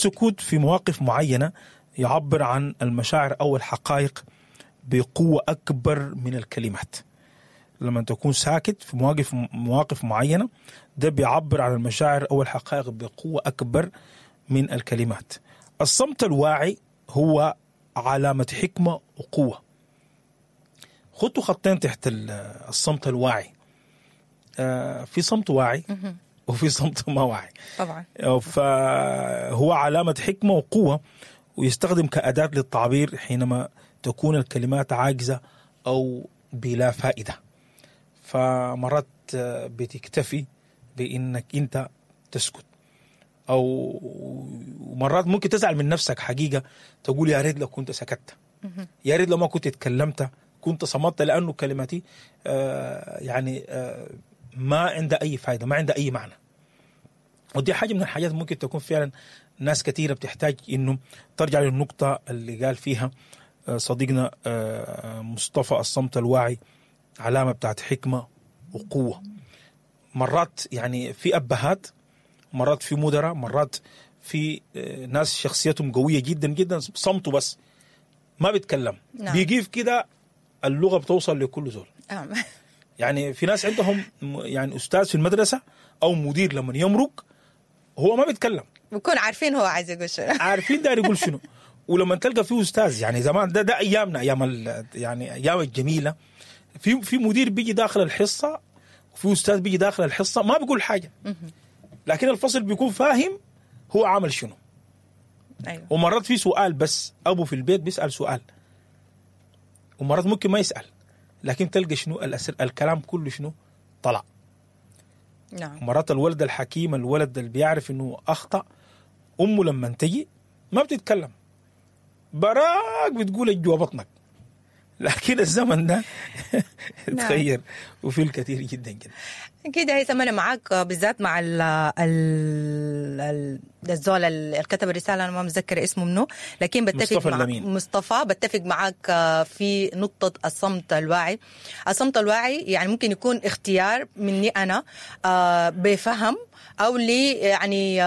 السكوت في مواقف معينة يعبر عن المشاعر أو الحقائق بقوة أكبر من الكلمات. لما تكون ساكت في مواقف معينة، ده بيعبر عن المشاعر أو الحقائق بقوة أكبر من الكلمات. الصمت الواعي هو علامة حكمة وقوة. خطوا خطين تحت الصمت الواعي. في صمت واعي وفي صمت ما واعي طبعا. فهو علامة حكمة وقوة، ويستخدم كأداة للتعبير حينما تكون الكلمات عاجزة أو بلا فائدة. فمرات بتكتفي بإنك أنت تسكت، أو مرات ممكن تزعل من نفسك حقيقة، تقول يا ريت لو كنت سكت، يا ريت لو ما كنت اتكلمت، كنت صمت، لأنه كلماتي يعني ما عندها أي فائدة، ما عندها أي معنى. ودي حاجة من الحاجات ممكن تكون فعلا ناس كثيرة بتحتاج إنه ترجع للنقطة اللي قال فيها صديقنا مصطفى، الصمت الواعي علامة بتاعت حكمة وقوة. مرات يعني في أبهات، مرات في مدراء، مرات في ناس شخصيتهم قوية جدا جدا، صمته بس ما بيتكلم. نعم. بيجيف كده، اللغة بتوصل لكل زول. نعم. يعني في ناس عندهم يعني أستاذ في المدرسة أو مدير لما يمرق هو ما بيتكلم، بيكون عارفين هو عايز يقول شنو، عارفين داير يقول شنو. ولما تلقى فيه أستاذ، يعني زمان ده أيامنا، أيام يعني أيام الجميلة، في مدير بيجي داخل الحصة، وفي أستاذ بيجي داخل الحصة ما بيقول حاجة، لكن الفصل بيكون فاهم هو عمل شنو. أيوة. ومرات في سؤال بس، أبو في البيت بيسأل سؤال، ومرات ممكن ما يسأل، لكن تلقى شنو الكلام كله شنو طلع. نعم. مرات الولد الحكيم، الولد اللي بيعرف إنه أخطأ، أمه لما تجي ما بتتكلم، براك بتقول جوا بطنك. لكن الزمن ده تغير، وفي الكثير جدا جدا. أكيد هيثم، أنا معاك بالذات مع الزول اللي كتب الرسالة، أنا ما متذكر اسمه منه، لكن بتفق مصطفى مع مصطفى، بتفق معاك في نقطة الصمت الواعي. الصمت الواعي يعني ممكن يكون اختيار مني أنا بفهم، أو لي يعني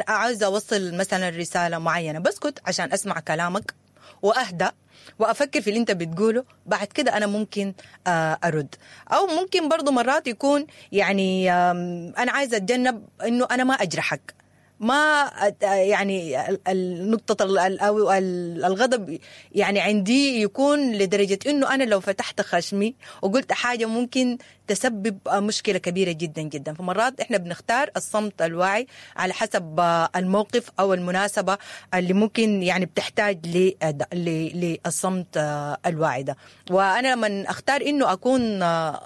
عاوزة أوصل مثلا رسالة معينة، بسكت عشان أسمع كلامك وأهدأ وأفكر في اللي أنت بتقوله، بعد كده أنا ممكن أرد. أو ممكن برضو مرات يكون يعني أنا عايزة أتجنب أنه أنا ما أجرحك، ما يعني النقطة أو الغضب يعني عندي يكون لدرجة أنه أنا لو فتحت خشمي وقلت حاجة ممكن تسبب مشكلة كبيرة جدا جدا. فمرات إحنا بنختار الصمت الواعي على حسب الموقف أو المناسبة اللي ممكن يعني بتحتاج للصمت الواعي ده. وأنا لما أختار أنه أكون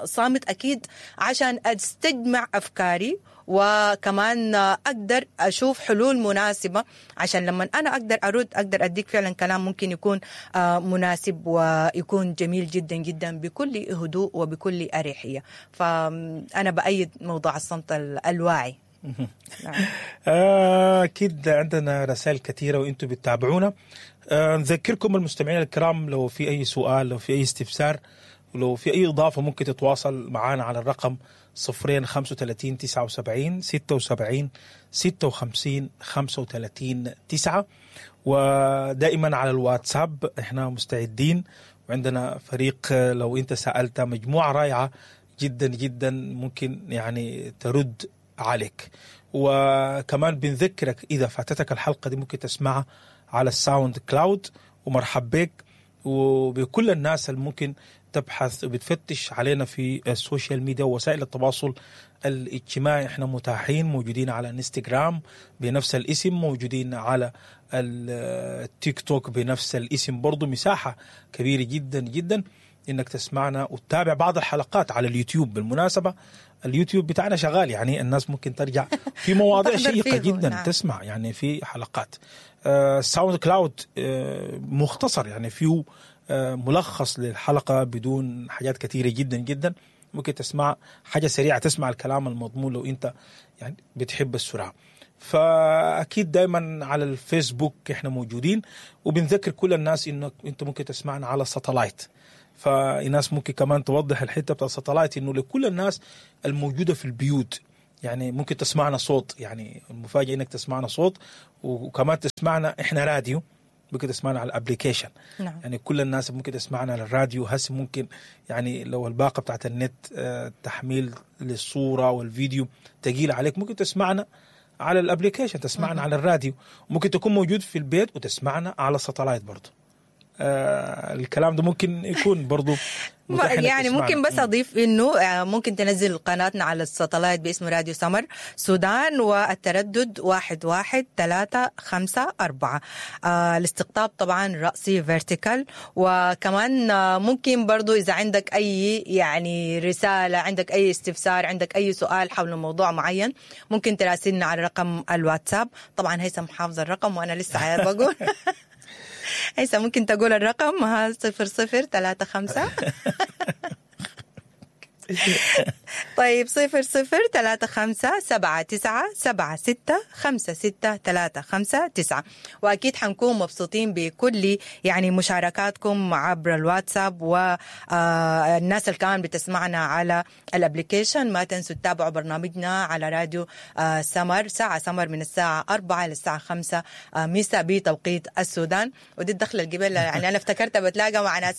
صامت أكيد عشان أستجمع أفكاري، وكمان أقدر أشوف حلول مناسبة، عشان لما أنا أقدر أرد أقدر أديك فعلا كلام ممكن يكون مناسب ويكون جميل جدا جدا بكل هدوء وبكل أريحية. فأنا بأيد موضوع الصمت الواعي. نعم. أكيد عندنا رسائل كثيرة وإنتم بتتابعونا. نذكركم المستمعين الكرام، لو في أي سؤال، لو في أي استفسار، ولو في أي إضافة، ممكن تتواصل معنا على الرقم 0 35 79 76 56 35 9. ودائما على الواتساب احنا مستعدين، وعندنا فريق لو انت سألت مجموعة رائعة جدا جدا ممكن يعني ترد عليك. وكمان بنذكرك إذا فاتتك الحلقة دي ممكن تسمعها على ال SoundCloud. ومرحب بك وبكل الناس اللي ممكن تبحث وبتفتش علينا في ال social media ووسائل التواصل الاجتماعي. احنا متاحين، موجودين على انستغرام بنفس الاسم، موجودين على التيك توك بنفس الاسم برضو. مساحة كبيرة جدا جدا انك تسمعنا وتتابع بعض الحلقات على اليوتيوب. بالمناسبة اليوتيوب بتاعنا شغال، يعني الناس ممكن ترجع في مواضيع شيقة جدا. نعم. تسمع يعني في حلقات SoundCloud مختصر، يعني فيه ملخص للحلقة بدون حاجات كثيرة جدا جدا. ممكن تسمع حاجة سريعة، تسمع الكلام المضمون لو انت يعني بتحب السرعة. فأكيد دايما على الفيسبوك احنا موجودين، وبنذكر كل الناس انك انت ممكن تسمعنا على ال satellite. فالناس ممكن كمان توضح الحتة بتاع ال satellite، انه لكل الناس الموجودة في البيوت، يعني ممكن تسمعنا صوت، يعني المفاجاة انك تسمعنا صوت وكمان تسمعنا احنا راديو، ممكن تسمعنا على ال application. نعم. يعني كل الناس ممكن تسمعنا على الراديو هسه، ممكن يعني لو الباقه بتاعت النت تحميل للصورة والفيديو تقيل عليك، ممكن تسمعنا على ال application، تسمعنا على الراديو، ممكن تكون موجود في البيت وتسمعنا على ال satellite برضه. الكلام ده ممكن يكون برضو متاح إنك يعني تسمعنا. ممكن بس اضيف انه ممكن تنزل قناتنا على ال satellite باسم راديو سمر سودان، والتردد 11354. الاستقطاب طبعا رأسي vertical. وكمان ممكن برضو اذا عندك اي يعني رسالة، عندك اي استفسار، عندك اي سؤال حول موضوع معين، ممكن تراسلنا على رقم الواتساب. طبعا هيثم حافظ الرقم وانا لسه بقول. هيثم ممكن تقول الرقم؟ ها، 0035. طيب، 0035 79 76 56 359. وأكيد حنكون مبسوطين بكل يعني مشاركاتكم عبر الواتساب والناس اللي كمان بتسمعنا على ال application. ما تنسوا تتابعوا برنامجنا على راديو سمر، ساعة سمر، من الساعة 4 للساعة 5 مساء بتوقيت السودان. ودي الدخلة القبل، يعني أنا افتكرت بتلاقى مع ناس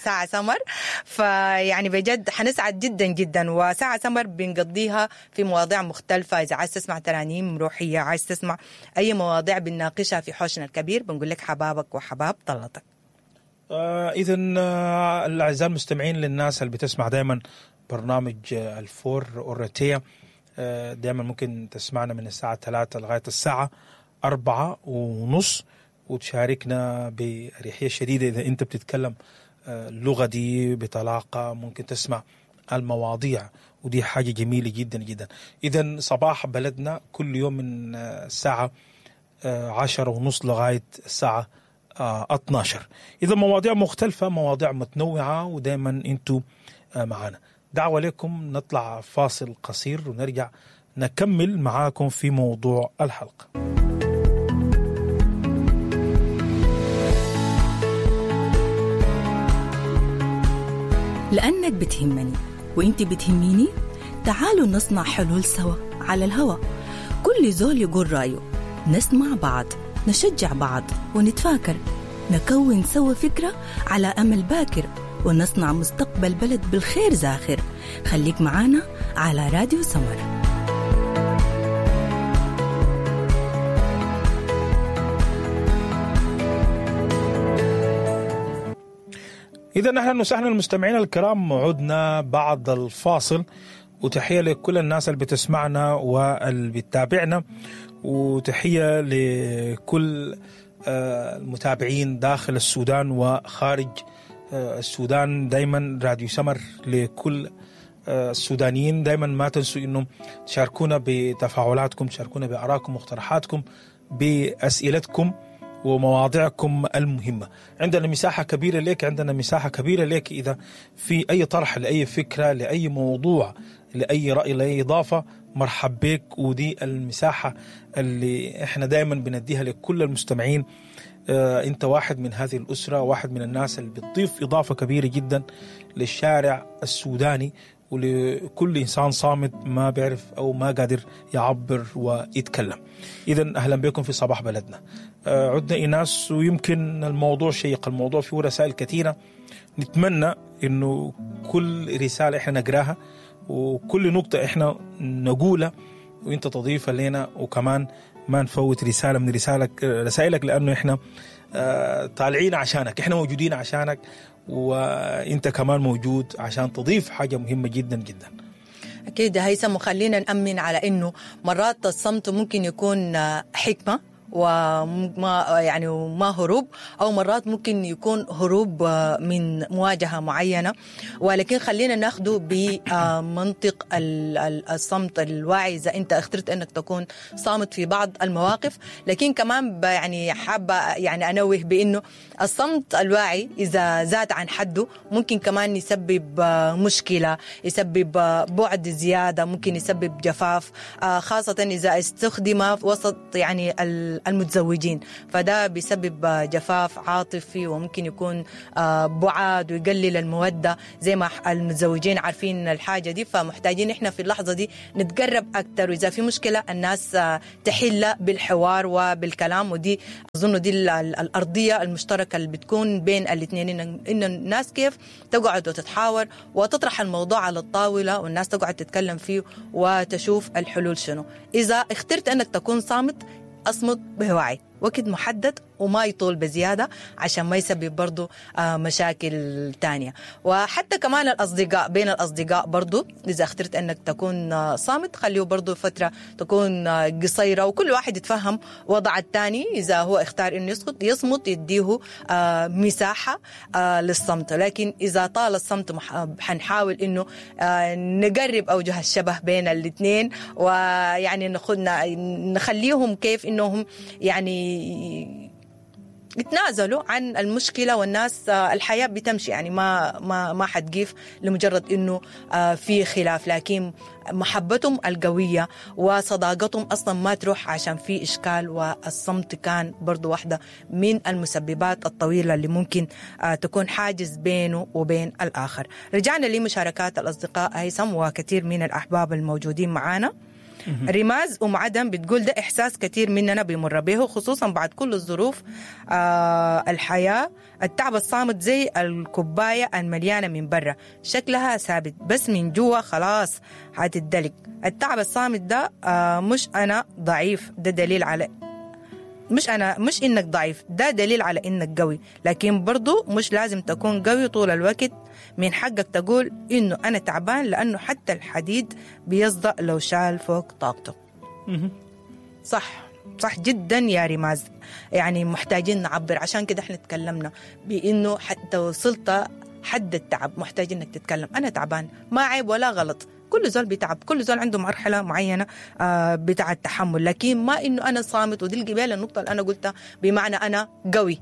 ساعة سمر، فيعني بجد حنسعد جدا جدا. وساعة سمر بنقضيها في مواضيع مختلفة، إذا عايز تسمع ترانيم روحية، عايز تسمع أي مواضيع بنناقشها في حوشنا الكبير. بنقول لك حبابك وحباب طلتك. اذا الاعزاء المستمعين، للناس اللي بتسمع دائما برنامج الفور اورتيا، دائما ممكن تسمعنا من الساعة 3 لغاية الساعة 4:30 وتشاركنا بأريحية شديدة. إذا أنت بتتكلم اللغة دي بطلاقة ممكن تسمع المواضيع، ودي حاجة جميلة جدا جدا. إذا صباح بلدنا كل يوم من الساعة 10:30 لغاية الساعة 12. إذا مواضيع مختلفة، مواضيع متنوعة، ودائما أنتوا معنا. دعوة لكم نطلع فاصل قصير ونرجع نكمل معاكم في موضوع الحلقة. لأنك بتهمني وإنت بتهميني، تعالوا نصنع حلول سوا على الهوا. كل زول يقول رأيه، نسمع بعض، نشجع بعض ونتفاكر، نكون سوا فكرة على أمل باكر، ونصنع مستقبل بلد بالخير زاخر. خليك معانا على راديو سمر. إذا أهلا وسهلا المستمعين الكرام، عدنا بعد الفاصل، وتحية لكل الناس اللي بتسمعنا واللي بتتابعنا، وتحية لكل المتابعين داخل السودان وخارج السودان. دايما راديو سمر لكل السودانيين. دايما ما تنسوا انه تشاركونا بتفاعلاتكم، تشاركونا بارائكم واقتراحاتكم، باسئلتكم ومواضيعكم المهمة. عندنا مساحة كبيرة لك، عندنا مساحة كبيرة لك إذا في أي طرح لأي فكرة، لأي موضوع، لأي رأي، لأي إضافة، مرحب بك. ودي المساحة اللي احنا دائما بنديها لكل المستمعين. انت واحد من هذه الأسرة، واحد من الناس اللي بتضيف إضافة كبيرة جدا للشارع السوداني ولكل إنسان صامت ما بيعرف أو ما قادر يعبر ويتكلم. إذا أهلا بكم في صباح بلدنا. عدنا إيناس، ويمكن الموضوع شيق، الموضوع فيه رسائل كثيرة. نتمنى إنه كل رسالة إحنا نقراها وكل نقطة إحنا نقولها وإنت تضيفها لنا، وكمان ما نفوت رسالة من رسائلك، لأنه إحنا طالعين عشانك، إحنا موجودين عشانك، وإنت كمان موجود عشان تضيف حاجة مهمة جدا جدا. أكيد هيثم، وخلينا نأمن على إنه مرات الصمت ممكن يكون حكمة وما يعني وما هروب، او مرات ممكن يكون هروب من مواجهة معينه، ولكن خلينا ناخده بمنطق الصمت الواعي. اذا انت اخترت انك تكون صامت في بعض المواقف، لكن كمان يعني حابة يعني انوه بانه الصمت الواعي اذا زاد عن حده ممكن كمان يسبب مشكله، يسبب بعد زياده، ممكن يسبب جفاف، خاصة اذا استخدم وسط يعني المتزوجين، فده بيسبب جفاف عاطفي وممكن يكون بعاد ويقلل المودة زي ما المتزوجين عارفين الحاجة دي. فمحتاجين احنا في اللحظة دي نتقرب أكتر، وإذا في مشكلة الناس تحلها بالحوار وبالكلام. ودي أظن دي الأرضية المشتركة اللي بتكون بين الاثنين، إن الناس كيف تقعد وتتحاور وتطرح الموضوع على الطاولة والناس تقعد تتكلم فيه وتشوف الحلول شنو. إذا اخترت أنك تكون صامت، أصمت بوعي، وقت محدد وما يطول بزيادة عشان ما يسبب برضو مشاكل تانية. وحتى كمان الأصدقاء، بين الأصدقاء برضو إذا اخترت أنك تكون صامت خليه برضو فترة تكون قصيرة، وكل واحد يتفهم وضع التاني. إذا هو اختار أنه يصمت يديه مساحة للصمت، لكن إذا طال الصمت حنحاول أنه نقرب أوجه الشبه بين الاثنين، ويعني نخليهم كيف أنهم يعني يتنازلوا عن المشكلة، والناس الحياة بتمشي، يعني ما ما ما حتقيف لمجرد انه في خلاف، لكن محبتهم القوية وصداقتهم اصلا ما تروح عشان في اشكال. والصمت كان برضو واحدة من المسببات الطويلة اللي ممكن تكون حاجز بينه وبين الاخر. رجعنا لمشاركات الاصدقاء هيثم وكثير من الاحباب الموجودين معانا. رماز أم عدم بتقول ده إحساس كثير مننا بيمر به، خصوصا بعد كل الظروف الحياة. التعب الصامت زي الكوباية المليانة من برا، شكلها ثابت بس من جوا خلاص هتدلك. التعب الصامت ده مش أنا ضعيف، ده دليل على مش إنك ضعيف، ده دليل على إنك قوي، لكن برضو مش لازم تكون قوي طول الوقت. من حقك تقول إنه أنا تعبان، لأنه حتى الحديد بيصدأ لو شال فوق طاقته. صح، صح جدا يا ريماز، يعني محتاجين نعبر. عشان كده احنا تكلمنا بإنه حتى وصلت حد التعب محتاج إنك تتكلم. أنا تعبان، ما عيب ولا غلط، كل زول بيتعب، كل زول عنده مرحلة معينة بتاع التحمل، لكن ما إنه أنا صامت. ودي القبيلة النقطة اللي أنا قلتها بمعنى أنا قوي،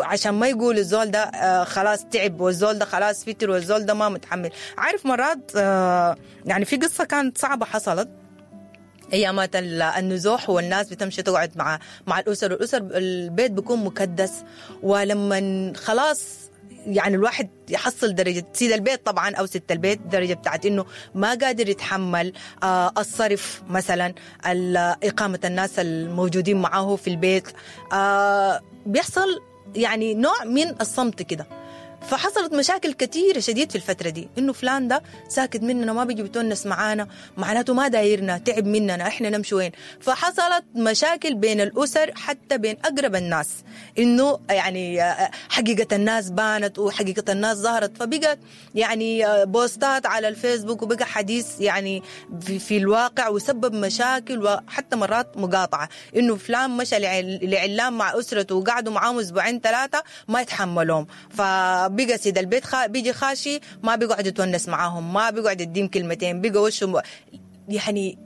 عشان ما يقول الزول ده خلاص تعب، والزول ده خلاص فتر، والزول ده ما متحمل. عارف مرات يعني في قصة كانت صعبة حصلت ايامات النزوح، والناس بتمشي تقعد مع الأسر، والأسر البيت بيكون مكدس، ولما خلاص يعني الواحد يحصل درجة سيد البيت طبعا أو ست البيت، درجة بتاعت إنه ما قادر يتحمل الصرف مثلا، إقامة الناس الموجودين معاه في البيت، بيحصل يعني نوع من الصمت كده. فحصلت مشاكل كثيرة شديد في الفترة دي، إنه فلان ده ساكت مننا، ما بيجي بيتونس معانا، معناته ما دايرنا، تعب مننا، إحنا نمشي وين؟ فحصلت مشاكل بين الأسر، حتى بين أقرب الناس، إنه يعني حقيقة الناس بانت وحقيقة الناس ظهرت، فبقت يعني بوستات على الفيسبوك، وبقى حديث يعني في الواقع، وسبب مشاكل وحتى مرات مقاطعة، إنه فلان مشى لعلام مع أسرته وقعدوا معاهم أسبوعين ثلاثة ما يتحملهم، بقى سيد البيت بيجي خاشي ما بيقعد يتونس معاهم، ما بيقعد يديم كلمتين، بقى وشه يعني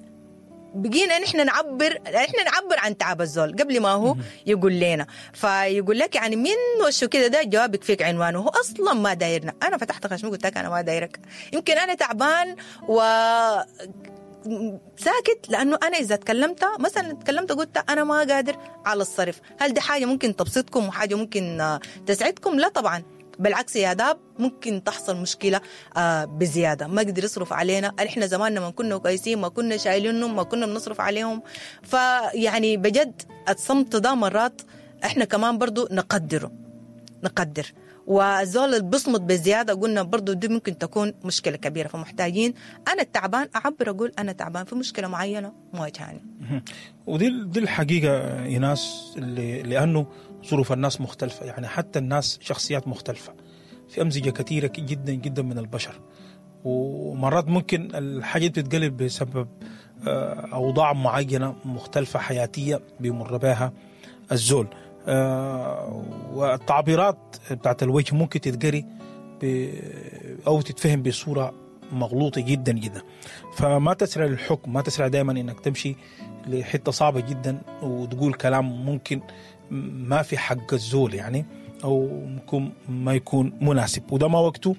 بقينا نحن نعبر، احنا نعبر عن تعب الزول قبل ما هو يقول لنا. فيقول لك يعني من وشه كده ده جوابك فيك عنوانه، هو اصلا ما دايرنا. انا فتحت خشمي قلت لك انا ما دايرك، يمكن انا تعبان و ساكت، لأنه أنا إذا تكلمت مثلا، تكلمت قلت أنا ما قادر على الصرف، هل دي حاجة ممكن تبسطكم وحاجة ممكن تسعدكم؟ لا طبعا، بالعكس يا داب ممكن تحصل مشكلة بزيادة، ما قدر يصرف علينا. احنا زماننا ما كنا كويسين، ما كنا شايلينهم، ما كنا بنصرف عليهم. فيعني بجد الصمت ده مرات احنا كمان برضو نقدر، والزول اللي بصمت بزيادة قلنا برضو دي ممكن تكون مشكلة كبيرة. فمحتاجين أنا التعبان أعبر، أقول أنا تعبان في مشكلة معينة مواجهاني. ودي دي الحقيقة يا ناس، لأنه ظروف الناس مختلفة، يعني حتى الناس شخصيات مختلفة، في أمزجة كثيرة جدا جدا من البشر، ومرات ممكن الحاجة بتتقلب بسبب أوضاع معينة مختلفة حياتية بيمر بها الزول. والتعبيرات بتاعت الوجه ممكن تتقري أو تتفهم بصورة مغلوطة جدا جدا. فما تسرع للحكم، ما تسرع دائما إنك تمشي لحتة صعبة جدا وتقول كلام ممكن ما في حق الزول يعني، او ممكن ما يكون مناسب، وده ما وقته،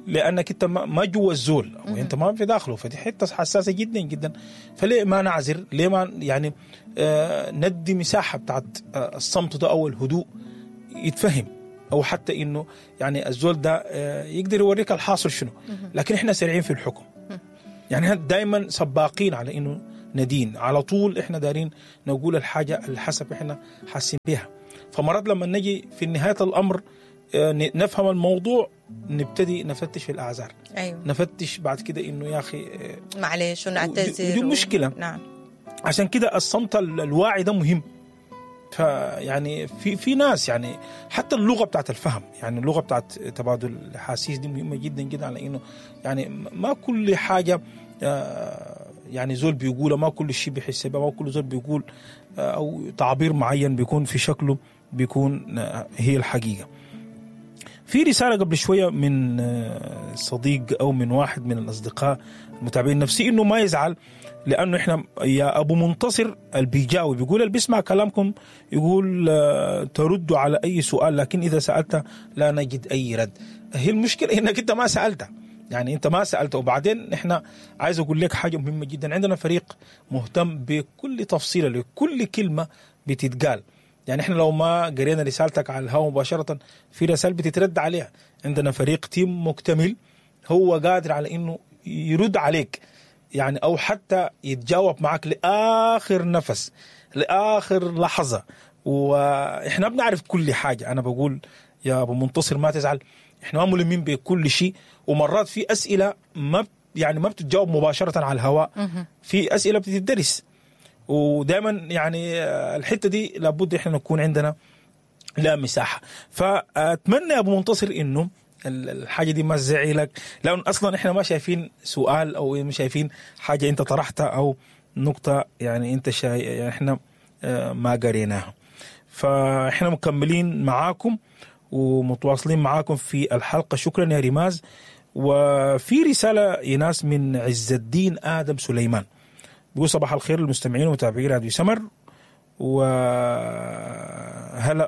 لانك انت ما جوا الزول او انت ما في داخله، فدي حتة حساسة جدا جدا. فليه ما نعذر؟ ليه ما يعني ندي مساحة بتاعت الصمت ده او الهدوء يتفهم، او حتى انه يعني الزول ده يقدر يوريك الحاصل شنو. لكن احنا سريعين في الحكم، يعني احنا دائما سباقين على انه ندين على طول، احنا دارين نقول الحاجة اللي حسب احنا حاسين بها. فمرات لما نجي في نهاية الامر نفهم الموضوع، نبتدي نفتش في الاعذار. أيوة. نفتش بعد كده انه يا اخي معلش ونعتذر، ودي مشكلة. نعم. عشان كده الصمت الواعي ده مهم. فيعني في ناس يعني حتى اللغة بتاعت الفهم، يعني اللغة بتاعت تبادل الاحاسيس دي مهمة جدا جدا، على انه يعني ما كل حاجة يعني زول بيقولها، ما كل شيء بيحس بها، ما كل زول بيقول او تعبير معين بيكون في شكله بيكون هي الحقيقة. في رسالة قبل شوية من صديق او من واحد من الاصدقاء المتابعين نفسي انه ما يزعل، لانه احنا يا ابو منتصر البيجاوي بيقول اللي بيسمع كلامكم يقول تردوا على اي سؤال، لكن اذا سالت لا نجد اي رد. هي المشكلة انك انت ما سالت، يعني انت ما سالت. وبعدين احنا عايز اقول لك حاجة مهمة جدا، عندنا فريق مهتم بكل تفصيله لكل كلمة بتتقال. يعني احنا لو ما قرينا رسالتك على الهواء مباشرة في رسائل بتترد عليها، عندنا فريق تيم مكتمل هو قادر على انه يرد عليك، يعني او حتى يتجاوب معك لاخر نفس، لاخر لحظة. واحنا بنعرف كل حاجة. انا بقول يا ابو منتصر ما تزعل، احنا ما ملمين بكل شيء، ومرات في اسئلة ما يعني ما بتتجاوب مباشرة على الهواء، في اسئلة بتدرس، ودائما يعني الحتة دي لابد احنا نكون عندنا لا مساحة. فاتمنى يا ابو منتصر انه الحاجة دي ما تزعلك، لان اصلا احنا ما شايفين سؤال او ما شايفين حاجة انت طرحتها او نقطة يعني انت يعني احنا ما قريناها. فاحنا مكملين معاكم ومتواصلين معاكم في الحلقة. شكرا يا ريماز. وفي رسالة يناس من عز الدين ادم سليمان بيقول صباح الخير للمستمعين ومتابعي راديو سمر، وهلا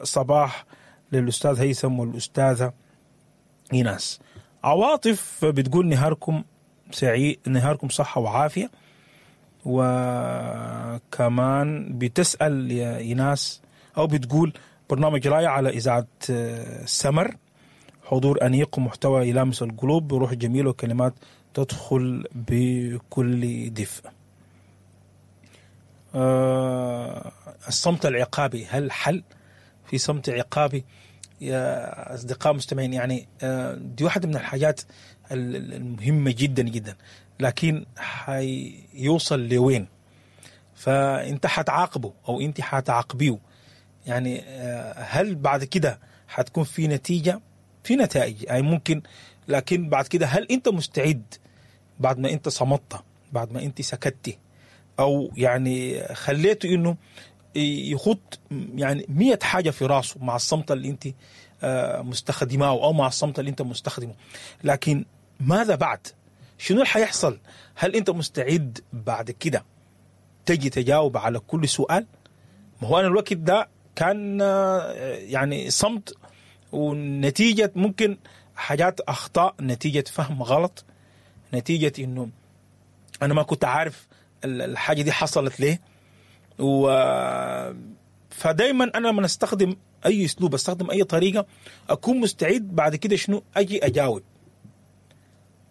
صباح للاستاذ هيثم والاستاذه إيناس. عواطف بتقول نهاركم سعيد، نهاركم صحة وعافية. وكمان بتسأل يا إيناس أو بتقول برنامج رائع على إذاعة سمر، حضور أنيق ومحتوى يلامس القلوب بروح جميلة وكلمات تدخل بكل دفء. الصمت العقابي هل حل؟ في صمت عقابي يا أصدقاء مستمعين، يعني دي واحدة من الحاجات المهمة جدا جدا، لكن حيوصل لوين؟ فأنت حتعاقبه أو أنت حتعاقبيه، يعني هل بعد كده حتكون في نتيجة؟ في نتائج أي ممكن، لكن بعد كده هل أنت مستعد بعد ما أنت صمتت، بعد ما أنت سكتتي، أو يعني خليته إنه يخط يعني 100 حاجة في راسه مع الصمت اللي أنت مستخدماه أو مع الصمت اللي أنت مستخدمة، لكن ماذا بعد؟ شنو اللي حيحصل؟ هل أنت مستعد بعد كده تجي تجاوب على كل سؤال؟ ما هو أنا الوقت ده كان يعني صمت، ونتيجة ممكن حاجات أخطاء، نتيجة فهم غلط، نتيجة إنه أنا ما كنت عارف الحاجة دي حصلت ليه. فدايما أنا لما أستخدم أي أسلوب، أستخدم أي طريقة، أكون مستعد بعد كده شنو أجي أجاوب.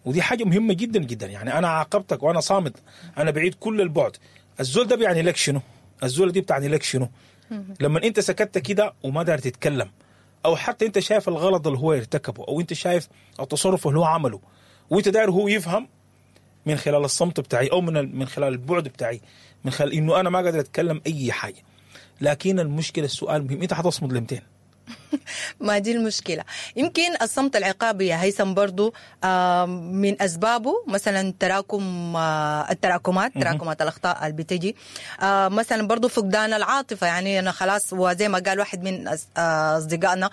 ودي حاجة مهمة جدا جدا. يعني أنا عاقبتك وأنا صامت، أنا بعيد كل البعد. الزول ده بيعني لك شنو؟ الزول دي بتعني لك شنو؟ لما أنت سكتت كده وما دار تتكلم، أو حتى أنت شايف الغلط اللي هو ارتكبه، أو أنت شايف التصرف اللي هو عمله، وأنت داير هو يفهم من خلال الصمت بتاعي، أو من خلال البعد بتاعي، من خلال إنه أنا ما قادر أتكلم أي حاجة. لكن المشكلة، السؤال مهم، أنت حتصمد لمتين؟ ما دي المشكلة. يمكن الصمت العقابي يا هيثم برضو من أسبابه مثلا تراكم التراكمات، تراكمات الأخطاء اللي بتجي، مثلا برضو فقدان العاطفة، يعني أنا خلاص، وزي ما قال واحد من أصدقائنا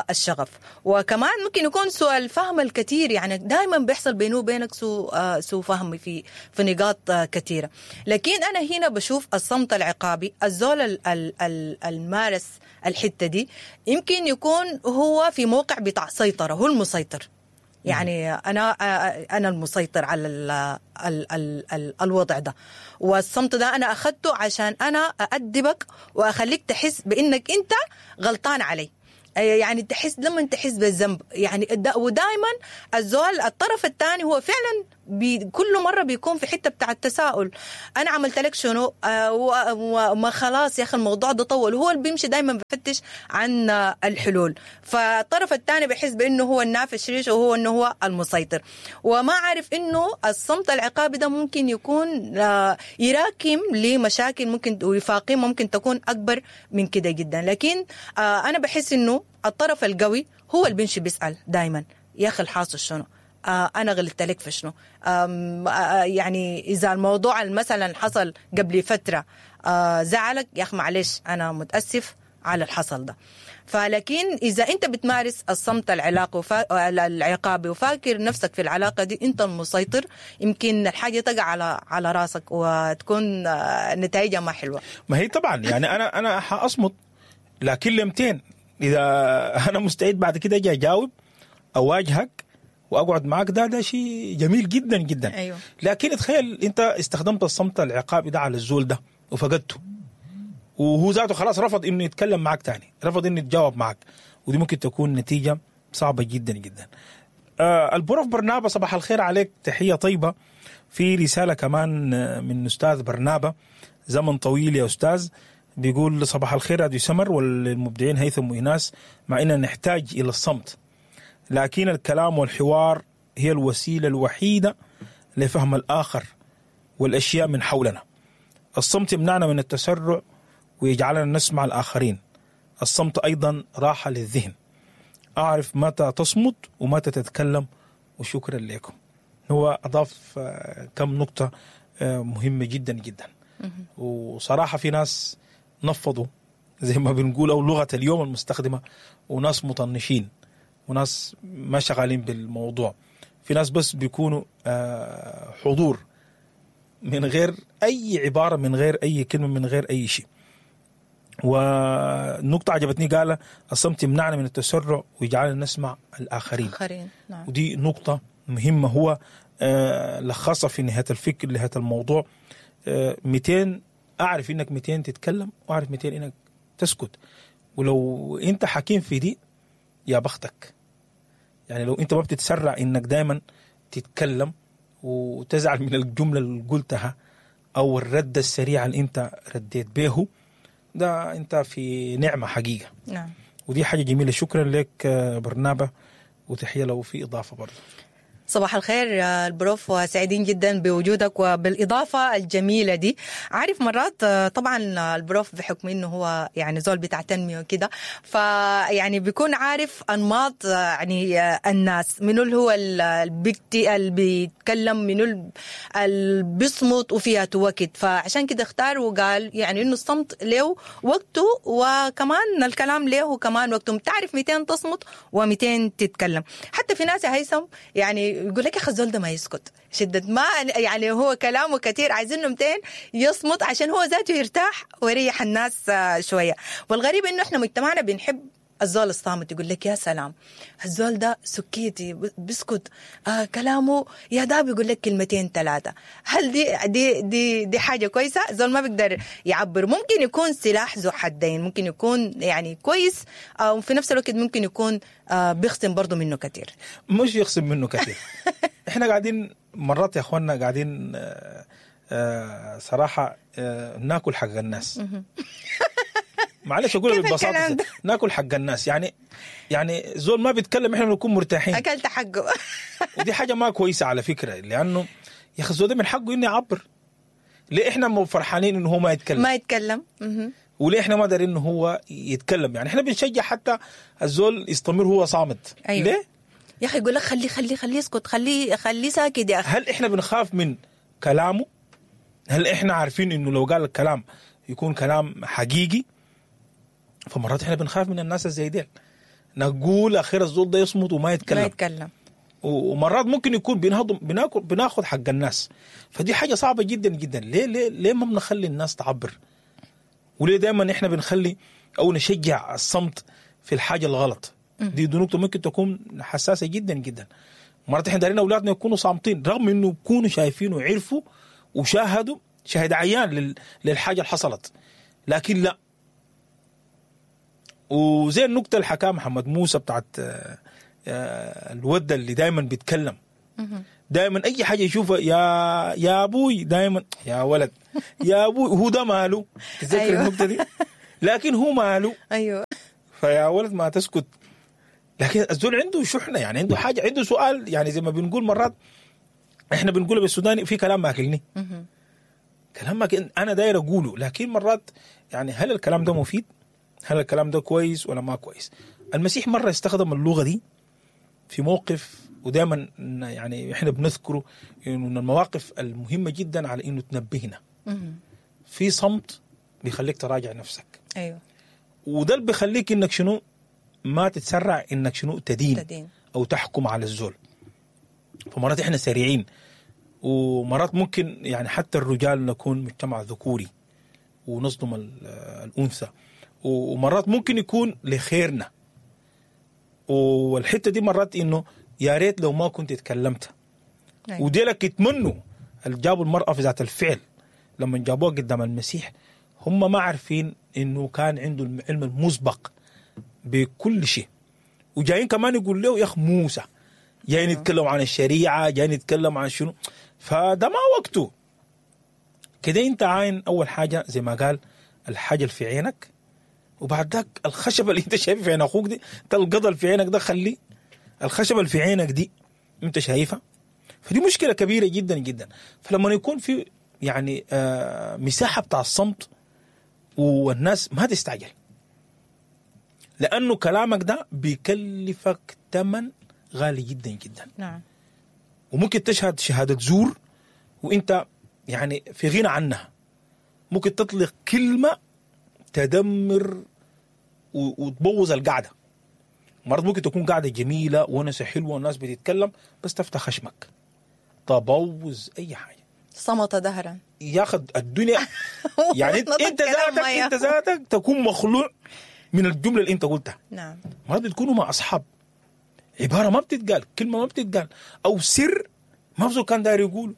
الشغف. وكمان ممكن يكون سوء الفهم الكثير، يعني دائما بيحصل بينه وبينك سوء فهم في نقاط كثيرة. لكن أنا هنا بشوف الصمت العقابي، الزول المارس الحتة دي يمكن يكون هو في موقع بتاع سيطرة، هو المسيطر. يعني انا المسيطر على ال ال ال ال الوضع ده، والصمت ده انا اخذته عشان انا اادبك واخليك تحس بانك انت غلطان علي. يعني تحس لما تحس بالذنب يعني. ودائما الزول الطرف الثاني هو فعلا كل مرة بيكون في حتة بتاع التساؤل، انا عملت لك شنو؟ وما خلاص يا اخي الموضوع ده طول. هو اللي بيمشي دائما بفتش عن الحلول، فالطرف الثاني بيحس بانه هو النافش ريش وهو انه هو المسيطر، وما عارف انه الصمت العقابي ده ممكن يكون يراكم لمشاكل ممكن وفاقين ممكن تكون اكبر من كده جدا. لكن انا بحس انه الطرف القوي هو اللي بيمشي بيسال دائما، يا اخي الحاصل شنو؟ أنا غلطت لك في شنو؟ يعني إذا الموضوع مثلا حصل قبل فترة زعلك، يا أخي معلش أنا متأسف على الحصل ده. فلكن إذا أنت بتمارس الصمت العقابي وفاكر نفسك في العلاقة دي أنت المسيطر، يمكن الحاجة تقع على راسك وتكون نتائجها ما حلوة. ما هي طبعا يعني أنا حأصمت لكن لمتين، إذا أنا مستعد بعد كده أجي أجاوب أواجهك واقعد معاك، ده شيء جميل جدا جدا. أيوة. لكن تخيل انت استخدمت الصمت العقابي ده على الزول ده وفقدته، وهو ذاته خلاص رفض انه يتكلم معاك تاني، رفض انه يتجاوب معاك، ودي ممكن تكون نتيجة صعبة جدا جدا. البروف برنابا صباح الخير عليك، تحية طيبة. في رسالة كمان من استاذ برنابا، زمن طويل يا استاذ، بيقول صباح الخير راديو سمر والمبدعين هيثم وإيناس، مع اننا نحتاج الى الصمت، لكن الكلام والحوار هي الوسيلة الوحيدة لفهم الآخر والأشياء من حولنا. الصمت يمنعنا من التسرع ويجعلنا نسمع الآخرين. الصمت أيضا راحة للذهن. أعرف متى تصمت ومتى تتكلم، وشكرا لكم. هو أضاف كم نقطة مهمة جدا جدا. وصراحة في ناس نفضوا زي ما بنقول، أو لغة اليوم المستخدمة، وناس مطنشين وناس ما شغالين بالموضوع. في ناس بس بيكونوا حضور من غير أي عبارة، من غير أي كلمة، من غير أي شيء. ونقطة عجبتني قال الصمت يمنعنا من التسرع ويجعلنا نسمع الآخرين. نعم. ودي نقطة مهمة هو لخصها في نهاية الفكر لهذا الموضوع. 200 أعرف إنك 200 تتكلم، وأعرف 200 إنك تسكت. ولو أنت حكيم في دي يا بختك. يعني لو انت ما بتتسرع انك دايما تتكلم وتزعل من الجملة اللي قلتها او الرد السريع اللي انت رديت به، ده انت في نعمة حقيقة. نعم. ودي حاجة جميلة. شكرا لك برنابا، وتحية لو في إضافة برضه. صباح الخير البروف، وسعيدين جدا بوجودك وبالإضافة الجميلة دي. عارف مرات طبعا البروف بحكم انه هو يعني زول بتاع تنمية وكده، فيعني بيكون عارف أنماط يعني الناس، منو اللي هو اللي بيتكلم، منو اللي بيصمت وفيها وقت. فعشان كده اختار وقال يعني انه الصمت له وقته، وكمان الكلام له كمان وقته. بتعرف 200 تصمت و200 تتكلم. حتى في ناس يا هيثم يعني يقول لك يا اخي الزول ده ما يسكت، شدة ما يعني هو كلامه كثير، عايزينه 200 يصمت عشان هو ذاته يرتاح ويريح الناس شوية. والغريب انه احنا مجتمعنا بنحب الزول الصامت، يقول لك يا سلام الزول ده سكيتي بيسكت، كلامه يا ده بيقول لك كلمتين ثلاثة. هل دي دي دي دي حاجة كويسة؟ الزول ما بيقدر يعبر. ممكن يكون سلاح ذو حدين، ممكن يكون يعني كويس، وفي نفس الوقت ممكن يكون بيخصم برضو منه كثير. مش يخصم منه كثير. احنا قاعدين مرات يا اخواننا قاعدين صراحة ناكل حق الناس. معلش اقول ببساطة ناكل حق الناس، يعني زول ما بيتكلم احنا بنكون مرتاحين، اكلت حقه. ودي حاجة ما كويسة على فكرة، لانه يا اخي الزول ده من حقه انه يعبر. ليه احنا مو فرحانين انه هو ما يتكلم؟ ما يتكلم. وليه احنا ما دارين انه هو يتكلم؟ يعني احنا بنشجع حتى الزول يستمر هو صامت. أيوة. ليه يا اخي؟ يقول لك خليه خليه خليه يسكت، خليه خليه ساكت يا اخي. هل احنا بنخاف من كلامه؟ هل احنا عارفين انه لو قال الكلام يكون كلام حقيقي؟ فمرات احنا بنخاف من الناس زي ديل، نقول اخير الزول ده يصمت وما يتكلم، ما يتكلم. ومرات ممكن يكون بناكل بناخذ حق الناس. فدي حاجة صعبة جدا جدا. ليه ليه ليه ما بنخلي الناس تعبر؟ وليه دائما احنا بنخلي او نشجع الصمت في الحاجة الغلط. دي نقطة ممكن تكون حساسة جدا جدا. مرات احنا دايرين اولادنا يكونوا صامتين رغم انه يكونوا شايفين وعرفوا وشاهدوا شاهد عيان للحاجة اللي حصلت، لكن لا. وزي النكتة اللي حكاها محمد موسى بتاعت الود اللي دائما بيتكلم، دائما اي حاجة يشوفها يا ابوي، دائما يا ولد يا ابوي، هو ده ماله؟ تذكر أيوة. النكتة دي؟ لكن هو ماله؟ ايوه. فيا ولد ما تسكت. لكن الزول عنده شحنه، يعني عنده حاجة، عنده سؤال، يعني زي ما بنقول مرات احنا بنقول بالسوداني في كلام ماكلني، كلام ما انا داير اقوله، لكن مرات يعني هل الكلام ده مفيد؟ هل الكلام ده كويس ولا ما كويس؟ المسيح مرة استخدم اللغة دي في موقف، ودائما يعني احنا بنذكره انه من المواقف المهمة جدا على انه تنبهنا. في صمت بيخليك تراجع نفسك. ايوه. وده اللي بيخليك انك شنو ما تتسرع، انك شنو تدين او تحكم على الزول. فمرات احنا سريعين، ومرات ممكن يعني حتى الرجال نكون مجتمع ذكوري ونصدم الأنثى، ومرات ممكن يكون لخيرنا. والحتة دي مرات إنه يا ريت لو ما كنت اتكلمت. أيوة. وديلك يتمنوا اللي جابوا المرأة في ذات الفعل لما جابوها قدام المسيح، هم ما عارفين إنه كان عنده العلم المسبق بكل شيء، وجايين كمان يقول له يا أخ موسى، جايين يتكلم عن الشريعة، جايين يتكلم عن شنو، فده ما وقته كده. انت عاين اول حاجة زي ما قال الحاجة اللي في عينك، وبعد ذاك الخشبة اللي انت شايفها في عين اخوك دي، انت القضل في عينك ده خلي الخشبة اللي في عينك دي انت شايفها. فدي مشكلة كبيرة جدا جدا. فلما يكون في يعني مساحة بتاع الصمت والناس ما تستعجل، لأنه كلامك ده بيكلفك ثمن غالي جدا جدا. نعم. وممكن تشهد شهادة زور وانت يعني في غنى عنها. ممكن تطلق كلمة تدمر وتبوظ القعدة. مرات ممكن تكون قعدة جميلة ونسة حلوة والناس بتتكلم، بس تفتح خشمك تبوظ أي حاجة. صمت دهرا ياخد الدنيا. يعني انت ذاتك، انت ذاتك تكون مخلوع من الجملة اللي انت قلتها. نعم. مرات بتكونوا مع أصحاب، عبارة ما بتتقال، كلمة ما بتتقال، أو سر ما بزول كان داير يقوله،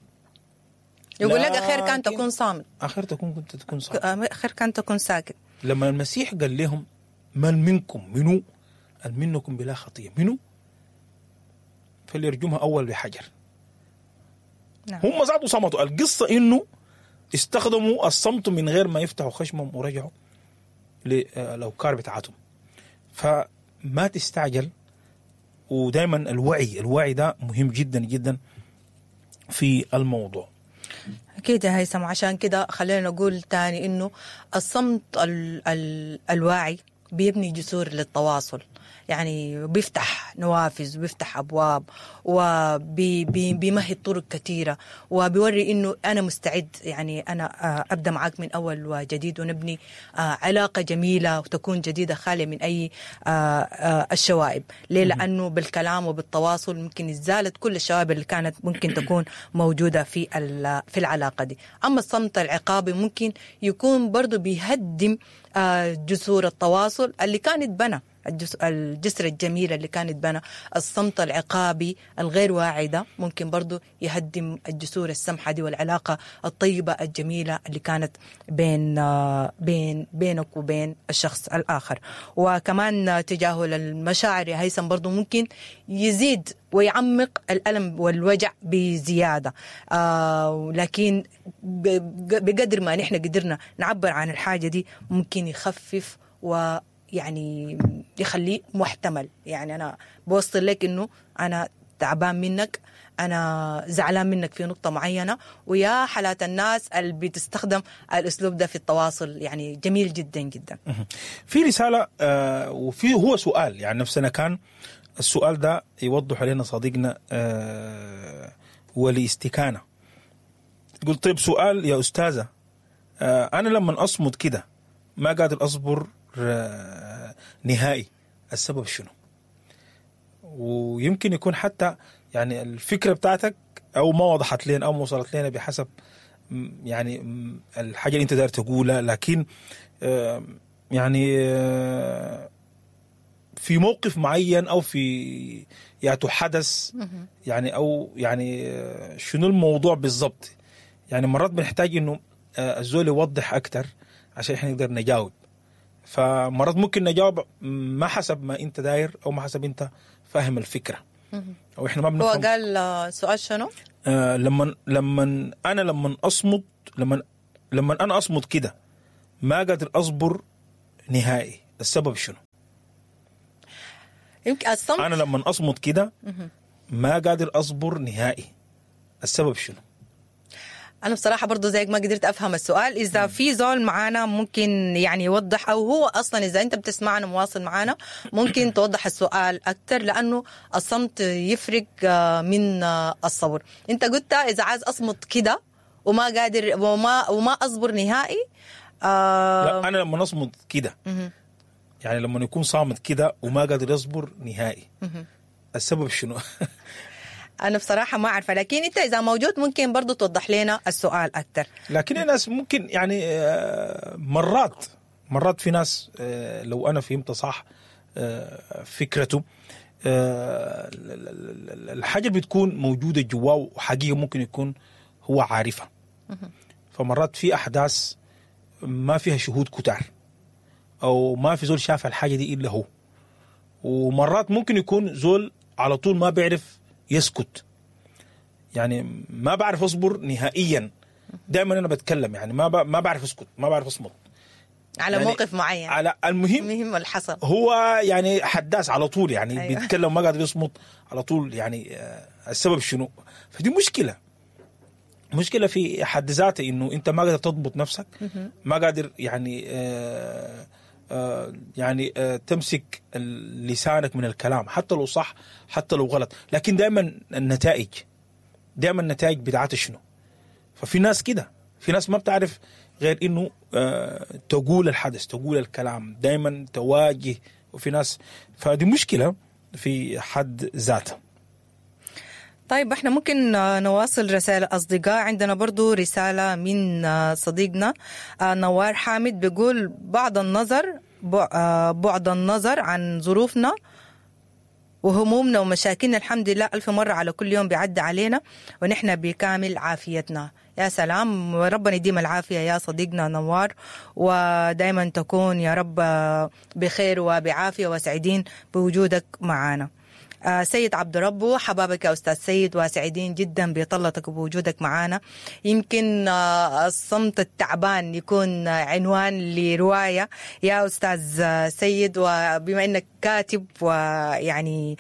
يقول لك أخير كان تكون صامت، أخير تكون كنت تكون صامت، أخير كان تكون ساكت. لما المسيح قال لهم من منكم منو منكم بلا خطية منو فليرجمها أول بحجر. نعم. هم زادوا صمتوا. القصة إنه استخدموا الصمت من غير ما يفتحوا خشمهم ورجعوا للأوكار بتاعتهم. فما تستعجل، ودائما الوعي ده مهم جدا جدا في الموضوع. أكيد يا هيثم. عشان كده خلينا نقول تاني إنه الصمت الواعي بيبني جسور للتواصل، يعني بيفتح نوافذ وبيفتح أبواب وبيمهد طرق كثيرة، وبيوري إنه أنا مستعد، يعني أنا أبدأ معاك من أول وجديد، ونبني علاقة جميلة وتكون جديدة خالية من أي الشوائب. ليه؟ لأنه بالكلام وبالتواصل ممكن إزالة كل الشوائب اللي كانت ممكن تكون موجودة في العلاقة دي. أما الصمت العقابي ممكن يكون برضو بيهدم جسور التواصل اللي كانت بنى، الجسر الجميل اللي كانت بنى. الصمت العقابي الغير واعي ده ممكن برضو يهدم الجسور السمحة دي والعلاقة الطيبة الجميلة اللي كانت بين بين بينك وبين الشخص الآخر. وكمان تجاهل المشاعر يا هيثم برضو ممكن يزيد ويعمق الألم والوجع بزيادة، لكن بقدر ما نحن قدرنا نعبر عن الحاجة دي ممكن يخفف و يعني يخليه محتمل. يعني أنا بوصل لك إنه أنا تعبان منك، أنا زعلان منك في نقطة معينة. ويا حالات الناس اللي بتستخدم الأسلوب ده في التواصل، يعني جميل جدا جدا. في رسالة وفي هو سؤال، يعني نفسنا كان السؤال ده يوضح علينا صديقنا ولاستكانة. يقول طيب سؤال يا أستاذة، أنا لما أصمت كده ما قادر أصبر نهائي، السبب شنو؟ ويمكن يكون حتى يعني الفكرة بتاعتك أو ما وضحت لنا أو ما وصلت لنا بحسب يعني الحاجة اللي أنت داير تقولها، لكن يعني في موقف معين او في ياتو حدث يعني، او يعني شنو الموضوع بالضبط؟ يعني مرات بنحتاج انه الزول يوضح اكثر عشان احنا نقدر نجاوب. فمرات ممكن نجاوب ما حسب ما انت داير او ما حسب انت فاهم الفكرة، او احنا ما بنفهم. هو قال سؤال شنو؟ لما انا لما اصمت، لما انا اصمت كده ما قادر اصبر نهائي، السبب شنو؟ يمكن الصمت. انا لما اصمت كده ما قادر اصبر نهائي، السبب شنو؟ أنا بصراحة برضو زيك ما قدرت أفهم السؤال. إذا في زول معانا ممكن يعني يوضح، أو هو أصلا إذا أنت بتسمعنا مواصل معانا ممكن توضح السؤال أكتر، لأنه الصمت يفرق من الصبر. أنت قلت إذا عايز أصمت كده وما قادر وما أصبر نهائي. لا، أنا لما أصمت كده يعني لما يكون صامت كده وما قادر يصبر نهائي، السبب شنو؟ أنا بصراحة ما عارفة، لكن أنت إذا موجود ممكن برضو توضح لنا السؤال أكتر. لكن الناس ممكن يعني مرات في ناس لو أنا فهمت صح فكرته، الحاجة بتكون موجودة جواه وحقيقة ممكن يكون هو عارفها. فمرات في أحداث ما فيها شهود كتار، أو ما في زول شاف الحاجة دي إلا هو. ومرات ممكن يكون زول على طول ما بيعرف يسكت، يعني ما بعرف اصبر نهائيا، دائما انا بتكلم، يعني ما بعرف اسكت، ما بعرف اصمت على يعني موقف معين، على المهم اللي حصل هو يعني حداث على طول، يعني أيوة. بيتكلم ما قادر يصمت على طول، يعني السبب شنو؟ فدي مشكلة في حد ذاتها، انه انت ما قادر تضبط نفسك، ما قادر يعني يعني تمسك لسانك من الكلام، حتى لو صح حتى لو غلط، لكن دائما النتائج، دائما النتائج بتاعتها شنو؟ ففي ناس كده، في ناس ما بتعرف غير انه تقول الحدث، تقول الكلام، دائما تواجه، وفي ناس فدي مشكلة في حد ذاتها. طيب احنا ممكن نواصل رسائل أصدقاء. عندنا برضو رسالة من صديقنا نوار حامد، بيقول بعد النظر عن ظروفنا وهمومنا ومشاكلنا، الحمد لله ألف مرة على كل يوم بيعدي علينا ونحن بكامل عافيتنا. يا سلام، ربنا يديم العافية يا صديقنا نوار، ودايما تكون يا رب بخير وبعافية وسعيدين بوجودك معنا. سيد عبد ربه، حبابك يا أستاذ سيد، وسعيدين جدا بطلتك وبوجودك معنا. يمكن الصمت التعبان يكون عنوان لرواية يا أستاذ سيد، وبما أنك كاتب ويعني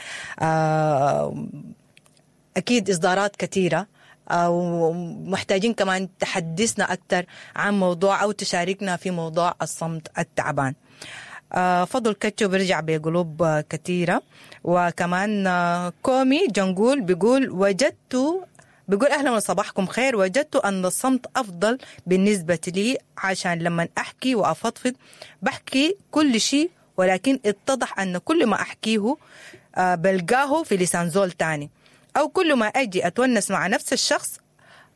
أكيد إصدارات كثيرة، ومحتاجين كمان تحدثنا أكثر عن موضوع أو تشاركنا في موضوع الصمت التعبان. فضل كتشو بيرجع بقلوب كثيرة. وكمان كومي جنقول بيقول بيقول أهلا وصباحكم خير، وجدت أن الصمت أفضل بالنسبة لي، عشان لما أحكي وأفضفض بحكي كل شيء، ولكن اتضح أن كل ما أحكيه بلقاه في لسان زول تاني، أو كل ما أجي أتونس مع نفس الشخص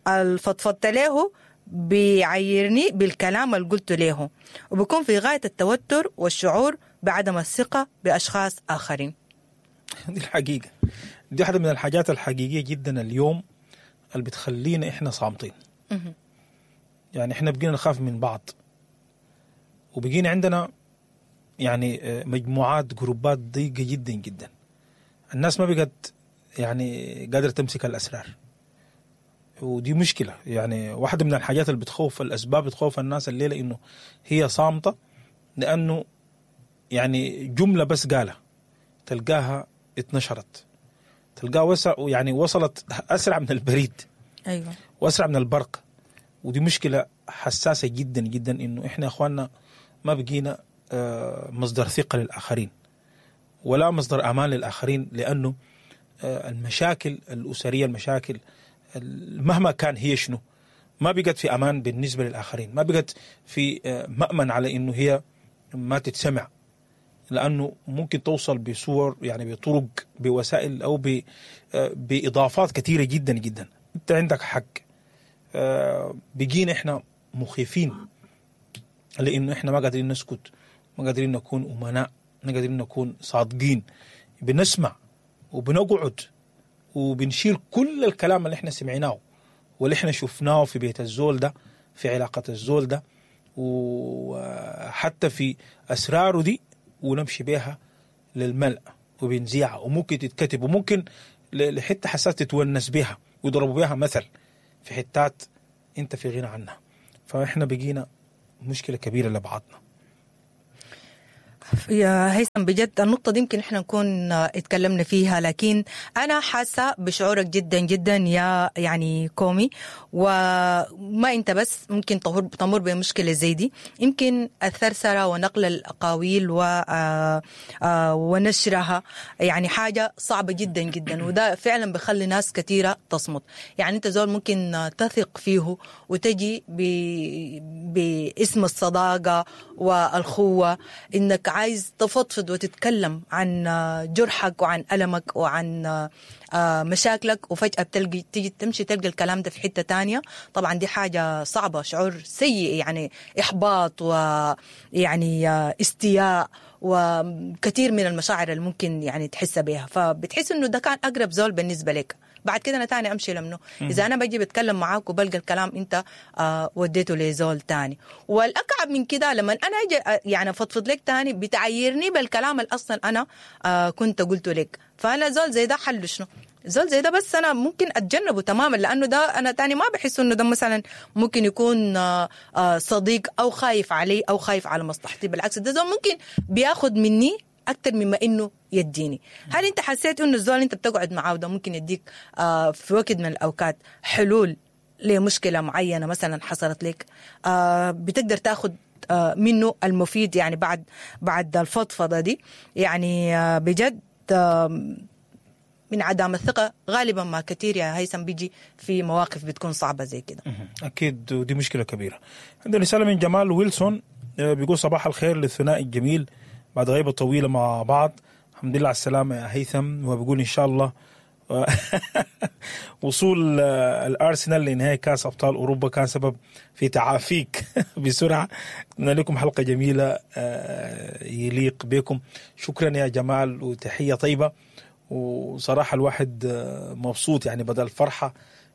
الفضفضت له بيعيرني بالكلام اللي قلته له، وبكون في غاية التوتر والشعور بعدم الثقة بأشخاص آخرين. دي الحقيقة، دي واحدة من الحاجات الحقيقية جدا اليوم اللي بتخلينا إحنا صامتين. يعني إحنا بقينا نخاف من بعض، وبقينا عندنا يعني مجموعات جروبات ضيقة جدا جدا. الناس ما بقت يعني قادرة تمسك الأسرار، ودي مشكلة. يعني واحدة من الحاجات اللي بتخوف، الأسباب بتخوف الناس الليلة إنه هي صامتة، لأنه يعني جملة بس قالها تلقاها اتنشرت، تلقاها يعني وصلت أسرع من البريد، أيوة، وأسرع من البرق. ودي مشكلة حساسة جدا جدا، إنه إحنا أخواننا ما بقينا مصدر ثقة للآخرين ولا مصدر أمان للآخرين، لأنه المشاكل الأسرية، المشاكل مهما كان هي شنو، ما بقت في أمان بالنسبة للآخرين، ما بقت في مأمن على إنه هي ما تتسمع، لأنه ممكن توصل بصور يعني بطرق بوسائل أو بإضافات كثيرة جدا جدا. أنت عندك حق، بقينا إحنا مخيفين لأنه إحنا ما قادرين نسكت، ما قادرين نكون أمناء ما قادرين نكون صادقين. بنسمع وبنقعد وبنشيل كل الكلام اللي احنا سمعناه واللي احنا شفناه في بيت الزول ده، في علاقة الزول ده، وحتى في أسراره دي، ونمشي بيها للملأ وبنذيعها، وممكن تتكتب، وممكن لحتة حساس تتونس بيها ويضربوا بيها مثل في حتات انت في غنى عنها. فاحنا بقينا مشكلة كبيرة لبعضنا. يا هيثم بجد النقطة دي يمكن احنا نكون اتكلمنا فيها، لكن أنا حاسة بشعورك جدا جدا يا يعني كومي، وما أنت بس ممكن تمر بمشكلة زي دي. يمكن الثرثرة ونقل الأقاويل ونشرها يعني حاجة صعبة جدا جدا، وده فعلا بخلي ناس كثيرة تصمت. يعني أنت زول ممكن تثق فيه وتجي باسم الصداقة والخوة، إنك عايز تفضفض وتتكلم عن جرحك وعن ألمك وعن مشاكلك، وفجأة بتلقي تيجي تمشي تلقى الكلام ده في حتة تانية. طبعا دي حاجة صعبة، شعور سيء، يعني إحباط ويعني استياء وكثير من المشاعر اللي ممكن يعني تحس بها. فبتحس إنه ده كان أقرب زول بالنسبة لك، بعد كده أنا تاني أمشي لمنه؟ إذا أنا بجي بتكلم معاك وبلقى الكلام أنت وديته لزول تاني. والأكعب من كده لما أنا أجي يعني أفضفض لك تاني بتعيرني بالكلام اللي أصلا أنا كنت قلته لك. فأنا زول زي ده حله شنو؟ زول زي ده بس أنا ممكن أتجنبه تماما، لأنه ده أنا تاني ما بحس إنه ده مثلا ممكن يكون صديق أو خايف علي أو خايف على مصلحتي. بالعكس ده زول ممكن بياخد مني أكتر مما إنه يديني. هل أنت حسيت إنه الزول أنت بتقعد معاه ده ممكن يديك في وقت من الأوقات حلول لمشكلة معينة مثلا حصلت لك، بتقدر تاخد منه المفيد يعني بعد الفضفضة دي؟ يعني بجد من عدم الثقة غالبا ما كثير يا هيثم بيجي في مواقف بتكون صعبة زي كده. أكيد، ودي مشكلة كبيرة. عندنا رسالة من جمال ويلسون بيقول صباح الخير للثنائي الجميل بعد غيبة طويلة مع بعض، الحمد لله على السلامة يا هيثم. وبيقول إن شاء الله وصول الأرسنال لنهائي كأس أبطال أوروبا كان سبب في تعافيك بسرعة. أتمنى لكم حلقة جميلة يليق بكم. شكرا يا جمال وتحية طيبة. وصراحة الواحد مبسوط، يعني بدل فرحة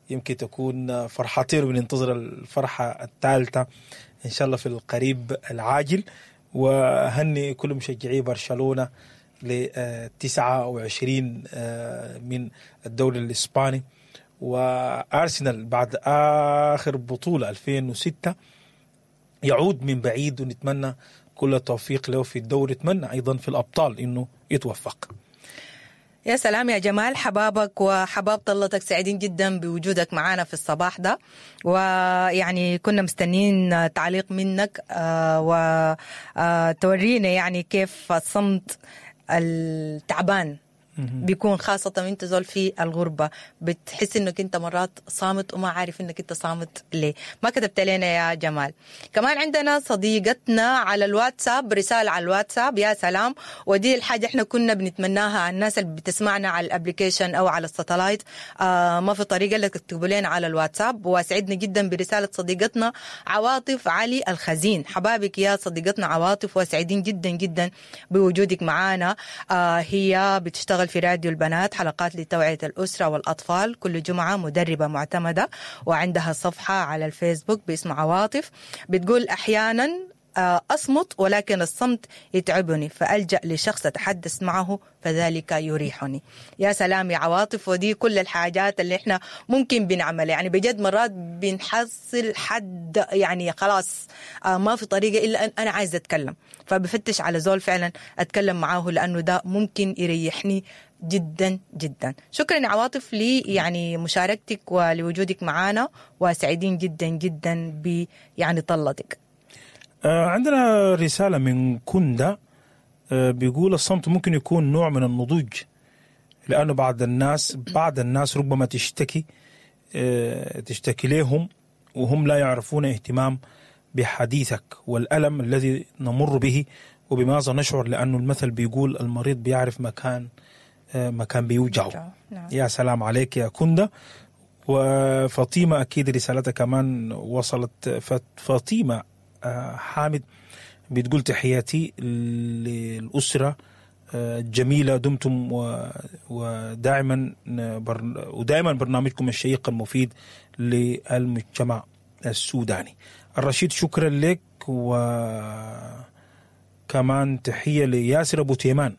يمكن تكون فرحتين، وبننتظر الفرحة الثالثة إن شاء الله في القريب العاجل. وهني كل مشجعي برشلونة ل 29 من الدوري الإسباني، وأرسنال بعد آخر بطولة 2006 يعود من بعيد، ونتمنى كل التوفيق له في الدوري، نتمنى أيضا في الأبطال إنه يتوفق. يا سلام يا جمال، حبابك وحباب طلتك، سعيدين جدا بوجودك معنا في الصباح ده، ويعني كنا مستنين تعليق منك وتورينا يعني كيف الصمت التعبان بيكون، خاصة وانت زول في الغربة بتحس انك انت مرات صامت وما عارف انك انت صامت ليه. ما كتبت لنا يا جمال. كمان عندنا صديقتنا على الواتساب، رسالة على الواتساب، يا سلام، ودي الحاجة احنا كنا بنتمناها على الناس اللي بتسمعنا على ال application او على ال satellite، ما في طريقة الا تكتبوا لنا على الواتساب. وسعدنا جدا برسالة صديقتنا عواطف علي الخزين. حبابك يا صديقتنا عواطف، وسعيدين جدا جدا بوجودك معانا. هي بتشتغل في راديو البنات، حلقات لتوعية الأسرة والأطفال كل جمعة، مدربة معتمدة، وعندها صفحة على الفيسبوك باسم عواطف. بتقول أحيانا أصمت ولكن الصمت يتعبني، فألجأ لشخص أتحدث معه فذلك يريحني. يا سلام يا عواطف، ودي كل الحاجات اللي احنا ممكن بنعملها. يعني بجد مرات بنحصل حد يعني خلاص ما في طريقة إلا أن أنا عايزة أتكلم، فبفتش على زول فعلا أتكلم معاه لأنه ده ممكن يريحني جدا جدا. شكرا يا عواطف لي يعني مشاركتك ولوجودك معنا، وسعيدين جدا جدا ب يعني طلتك. عندنا رسالة من كندا بيقول الصمت ممكن يكون نوع من النضوج، لأنه بعض الناس ربما تشتكي لهم وهم لا يعرفون اهتمام بحديثك والألم الذي نمر به وبماذا نشعر، لأنه المثل بيقول المريض بيعرف مكان بيوجعه. نعم. يا سلام عليك يا كندا. وفاطمة أكيد رسالتها كمان وصلت. فاطمة حامد بتقول تحياتي للأسرة الجميلة، دمتم ودائما ودائما برنامجكم الشيق المفيد للمجتمع السوداني. الرشيد شكرا لك، وكمان تحية لياسر أبو تيمان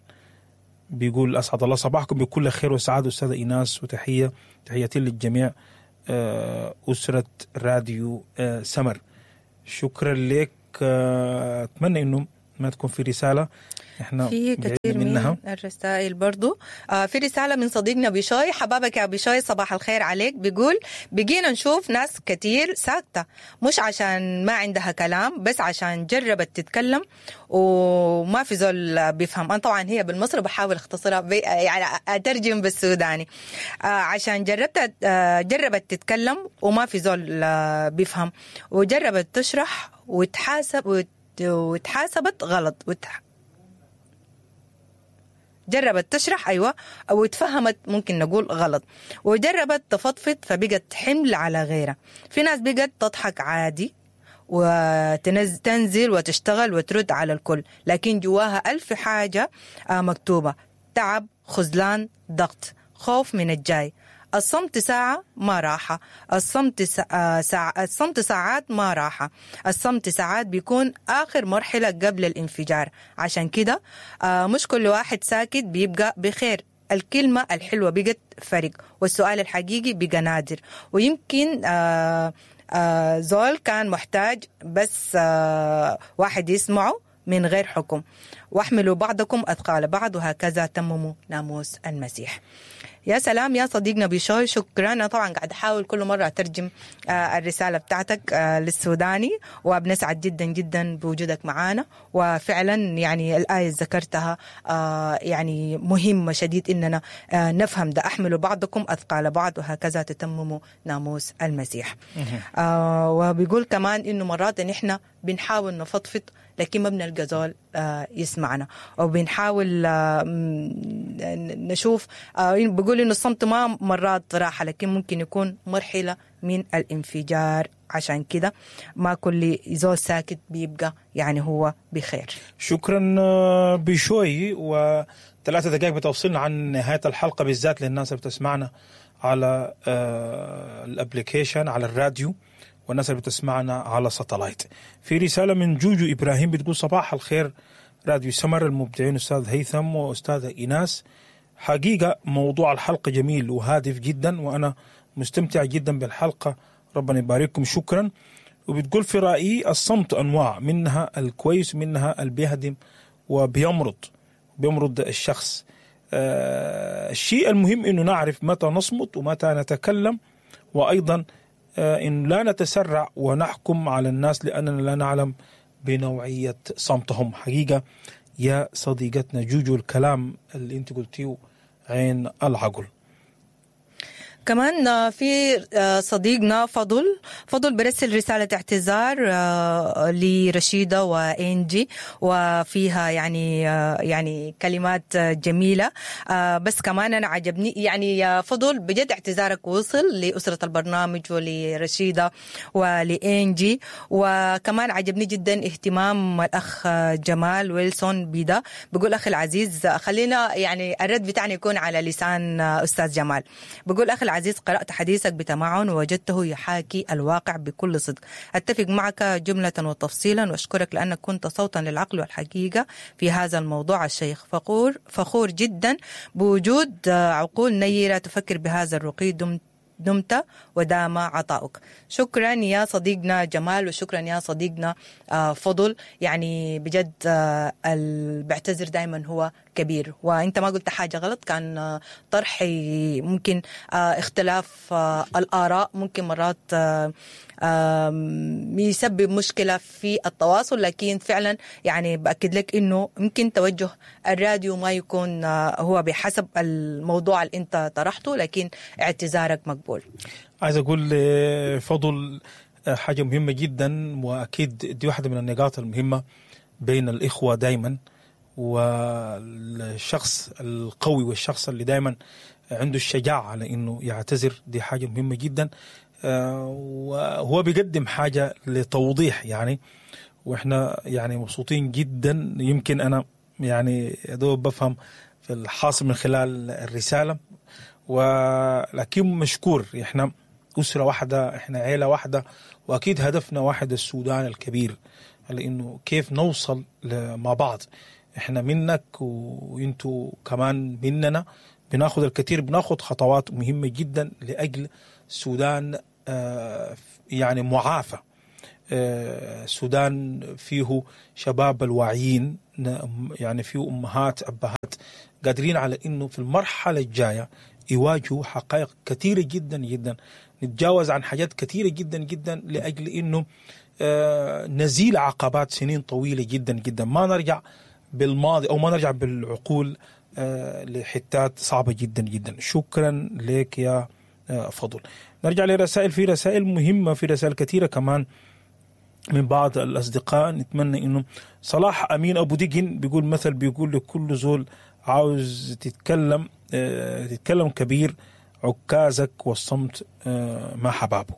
بيقول أسعد الله صباحكم بكل خير وسعادة أستاذة إيناس، وتحية تحياتي للجميع أسرة راديو سمر. شكرا لك، أتمنى إنه ما تكون في رسالة احنا في كثير منها من الرسائل برضو. في رسالة من صديقنا بشوي، حبابك يا بشوي صباح الخير عليك. بيقول بقينا نشوف ناس كثير ساكتة، مش عشان ما عندها كلام، بس عشان جربت تتكلم وما في زول بيفهم. أنا طبعا هي بالمصري بحاول اختصرها يعني أترجم بالسوداني. عشان جربت تتكلم وما في زول بيفهم، وجربت تشرح وتحاسبت غلط، جربت تشرح أيوة أو اتفهمت ممكن نقول غلط، وجربت تفضفض فبقت حمل على غيرها. في ناس بقت تضحك عادي وتنزل وتشتغل وترد على الكل، لكن جواها ألف حاجة مكتوبة: تعب، خذلان، ضغط، خوف من الجاي. الصمت ساعة ما راحة، الصمت ساعات ما راحة، الصمت ساعات بيكون آخر مرحلة قبل الانفجار. عشان كده مش كل واحد ساكت بيبقى بخير. الكلمة الحلوة بقت فرق، والسؤال الحقيقي بقى نادر. ويمكن زول كان محتاج بس واحد يسمعه من غير حكم. واحملوا بعضكم أثقال بعض وهكذا تمموا ناموس المسيح. يا سلام يا صديقنا بشوي، شكرا. أنا طبعا قاعد أحاول كل مرة أترجم الرسالة بتاعتك للسوداني، وبنسعد جدا جدا بوجودك معانا. وفعلا يعني الآية ذكرتها يعني مهمة شديد إننا نفهم ده، أحملوا بعضكم أثقال بعض وهكذا تتمموا ناموس المسيح. وبيقول كمان إنه مرات نحن بنحاول نفضفض لكن ما بنلقى زول يسمعنا، أو بنحاول نشوف. بقول إنه الصمت ما مرات راحة، لكن ممكن يكون مرحلة من الانفجار. عشان كده ما كل زول ساكت بيبقى يعني هو بخير. شكرا بشوي. و3 دقائق بتوصلنا عن نهاية الحلقة، بالذات للناس اللي بتسمعنا على ال application على الراديو، والناس اللي بتسمعنا على satellite. في رسالة من جوجو إبراهيم بتقول صباح الخير راديو سمر المبدعين أستاذ هيثم وأستاذة إيناس، حقيقة موضوع الحلقة جميل وهادف جدا، وأنا مستمتع جدا بالحلقة، ربنا يبارككم، شكرا. وبتقول في رأيي الصمت أنواع، منها الكويس منها اللي بيهدم وبيمرض بيمرض الشخص. الشيء المهم إنه نعرف متى نصمت ومتى نتكلم، وأيضا إن لا نتسرع ونحكم على الناس لأننا لا نعلم بنوعية صمتهم. حقيقة يا صديقتنا جوجو الكلام اللي انت قلتيه عين العقل. كمان في صديقنا فضل برسل رسالة اعتذار لرشيدة وإنجي، وفيها يعني كلمات جميلة. بس كمان أنا عجبني يعني يا فضل بجد اعتذارك وصل لأسرة البرنامج ولرشيدة ولإنجي. وكمان عجبني جدا اهتمام الأخ جمال ويلسون بيدا، بقول أخي العزيز، خلينا يعني الرد بتاعنا يكون على لسان أستاذ جمال. بقول أخي العزيز، قرأت حديثك بتمعن ووجدته يحاكي الواقع بكل صدق. أتفق معك جملة وتفصيلا، وأشكرك لأنك كنت صوتا للعقل والحقيقة في هذا الموضوع الشيخ. فخور جدا بوجود عقول نيرة تفكر بهذا الرقي. دمت ودام عطاؤك. شكرا يا صديقنا جمال، وشكرا يا صديقنا فضل. يعني بجد بعتذر دايما هو كبير، وانت ما قلت حاجة غلط، كان طرحي ممكن اختلاف الآراء ممكن مرات يسبب مشكلة في التواصل، لكن فعلا يعني بأكد لك انه ممكن توجه الراديو ما يكون هو بحسب الموضوع اللي انت طرحته، لكن اعتذارك مقبول. عايز اقول فضل حاجة مهمة جدا، واكيد دي واحدة من النقاط المهمة بين الاخوة دايما، والشخص القوي والشخص اللي دايما عنده الشجاعة على انه يعتذر، دي حاجة مهمة جدا. وهو بيقدم حاجة لتوضيح يعني، واحنا يعني مبسوطين جدا. يمكن انا يعني يا دوب بفهم في الحاصل من خلال الرسالة، ولكن مشكور. احنا اسره واحدة، احنا عيله واحدة، واكيد هدفنا واحد، السودان الكبير، لانه كيف نوصل مع بعض. احنا منك وانتو كمان مننا، بناخذ الكثير، بناخذ خطوات مهمة جدا لاجل السودان يعني معافى، السودان فيه شباب الواعيين، يعني فيه امهات ابهات قادرين على انه في المرحلة الجاية يواجهوا حقائق كثيرة جدا جدا، نتجاوز عن حاجات كثيرة جدا جدا لاجل انه نزيل عقبات سنين طويلة جدا جدا، ما نرجع بالماضي او ما نرجع بالعقول لحتات صعبة جدا جدا. شكرا لك يا فضل. نرجع لرسائل، في رسائل مهمة، في رسائل كثيرة كمان من بعض الاصدقاء. نتمنى انه صلاح امين ابو دقن بيقول مثل بيقول لكل زول عاوز تتكلم تتكلم كبير عكازك والصمت ما حبابة.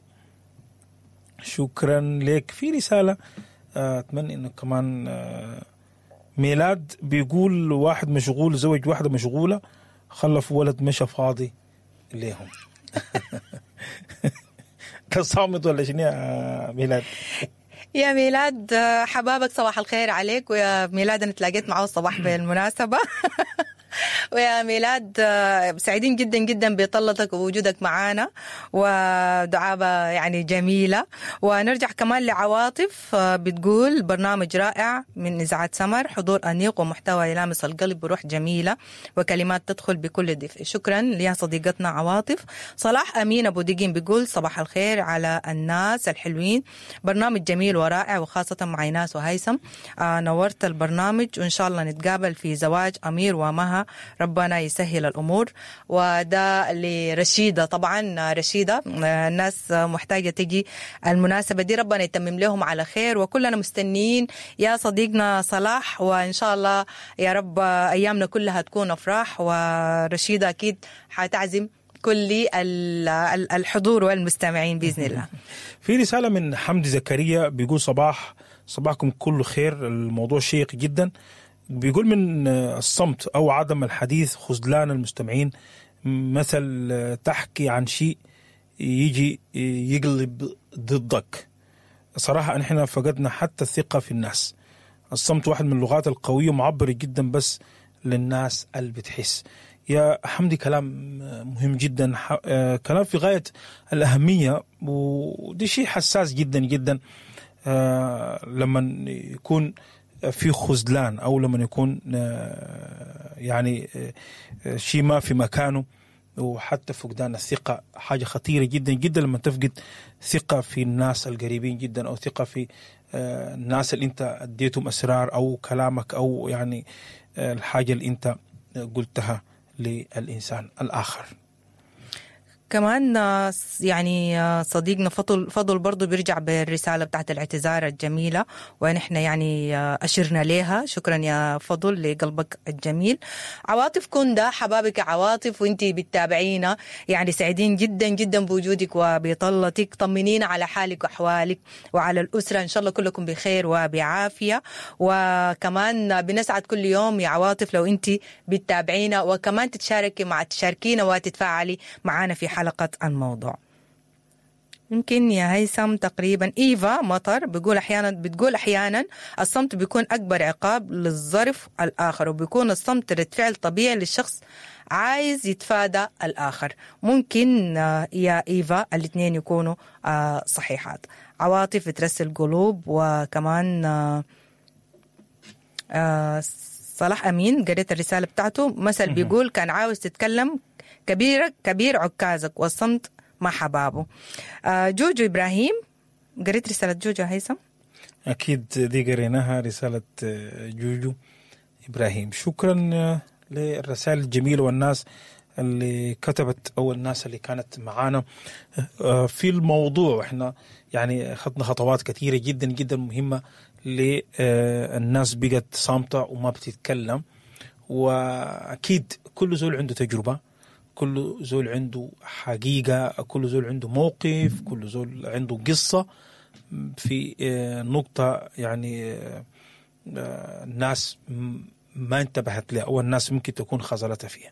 شكرا لك. في رسالة اتمنى انه كمان ميلاد بيقول واحد مشغول زوج واحدة مشغولة خلف ولد مشى فاضي ليهم. ده صامت ولا شنو يا ميلاد؟ يا ميلاد حبابك، صباح الخير عليك. ويا ميلاد انا تلاقيت معه الصباح بالمناسبة. ويا ميلاد سعيدين جدا جدا بطلتك ووجودك معانا، ودعابة يعني جميلة. ونرجع كمان لعواطف بتقول برنامج رائع من إذاعة سمر، حضور أنيق ومحتوى يلامس القلب بروح جميلة وكلمات تدخل بكل دفء. شكرا ليا صديقتنا عواطف. صلاح أمين أبو دقين بيقول صباح الخير على الناس الحلوين، برنامج جميل ورائع وخاصة مع إيناس وهيثم. نورت البرنامج، وإن شاء الله نتقابل في زواج أمير ومها، ربنا يسهل الأمور. وده لرشيدة، طبعا رشيدة الناس محتاجة تجي المناسبة دي، ربنا يتمم لهم على خير، وكلنا مستنيين يا صديقنا صلاح، وإن شاء الله يا رب أيامنا كلها تكون أفراح. ورشيدة أكيد حتعزم كل الحضور والمستمعين بإذن الله. في رسالة من حمدي زكريا بيقول صباحكم كله خير، الموضوع شيق جدا. بيقول من الصمت أو عدم الحديث خذلان المستمعين، مثل تحكي عن شيء يجي يقلب ضدك. صراحة نحن فقدنا حتى الثقة في الناس. الصمت واحد من اللغات القوية ومعبر جدا بس للناس اللي بتحس. يا حمدي كلام مهم جدا، كلام في غاية الأهمية، ودي شيء حساس جدا جدا لما يكون في خذلان أو لما يكون يعني شيء ما في مكانه، وحتى فقدان الثقة حاجة خطيرة جدا جدا لما تفقد ثقة في الناس القريبين جدا، أو ثقة في الناس اللي أنت أديتهم أسرار أو كلامك أو يعني الحاجة اللي أنت قلتها للإنسان الآخر. كمان يعني صديقنا فضل برضو بيرجع بالرسالة بتاعت الاعتذار الجميلة، ونحن يعني أشرنا لها. شكرا يا فضل لقلبك الجميل. عواطف كندا، حبابك عواطف، وانتي بتتابعينا، يعني سعيدين جدا جدا بوجودك وبطلتك. طمنينا على حالك وأحوالك وعلى الأسرة، إن شاء الله كلكم بخير وبعافية. وكمان بنسعد كل يوم يا عواطف لو انتي بتتابعينا، وكمان تتشاركي مع تشاركينا وتتفاعلي معنا في حلقة الموضوع. يمكن يا هيثم تقريبا إيفا مطر بيقول أحيانا، بتقول أحيانا الصمت بيكون أكبر عقاب للظرف الآخر، وبيكون الصمت رد فعل طبيعي للشخص عايز يتفادى الآخر. ممكن يا إيفا الاثنين يكونوا صحيحات. عواطف بترسل قلوب، وكمان صلاح أمين قريت الرسالة بتاعته. مثل بيقول كان عاوز تتكلم كبير كبير عكازك والصمت مع حبابة. جوجو إبراهيم، قريت رسالة جوجو هيثم؟ أكيد دي قريناها، رسالة جوجو إبراهيم. شكرا للرسائل الجميلة والناس اللي كتبت أو الناس اللي كانت معانا في الموضوع. احنا يعني خدنا خطوات كثيرة جدا جدا مهمة للناس بقت صامتة وما بتتكلم، وأكيد كل زول عنده تجربة، كل زول عنده حقيقة، كل زول عنده موقف، كل زول عنده قصة. في نقطة يعني الناس ما انتبهت لها أو الناس ممكن تكون خذلتها فيها.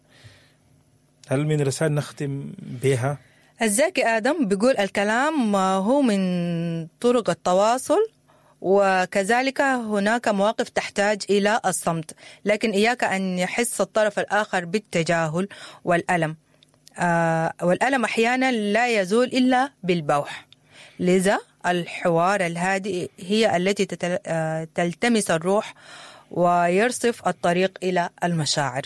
هل من رسائل نختم بها؟ الزاكي آدم بيقول الكلام هو من طرق التواصل، وكذلك هناك مواقف تحتاج إلى الصمت، لكن إياك أن يحس الطرف الآخر بالتجاهل والألم. والألم أحيانا لا يزول إلا بالبوح، لذا الحوار الهادئ هي التي تلتمس الروح ويرصف الطريق إلى المشاعر.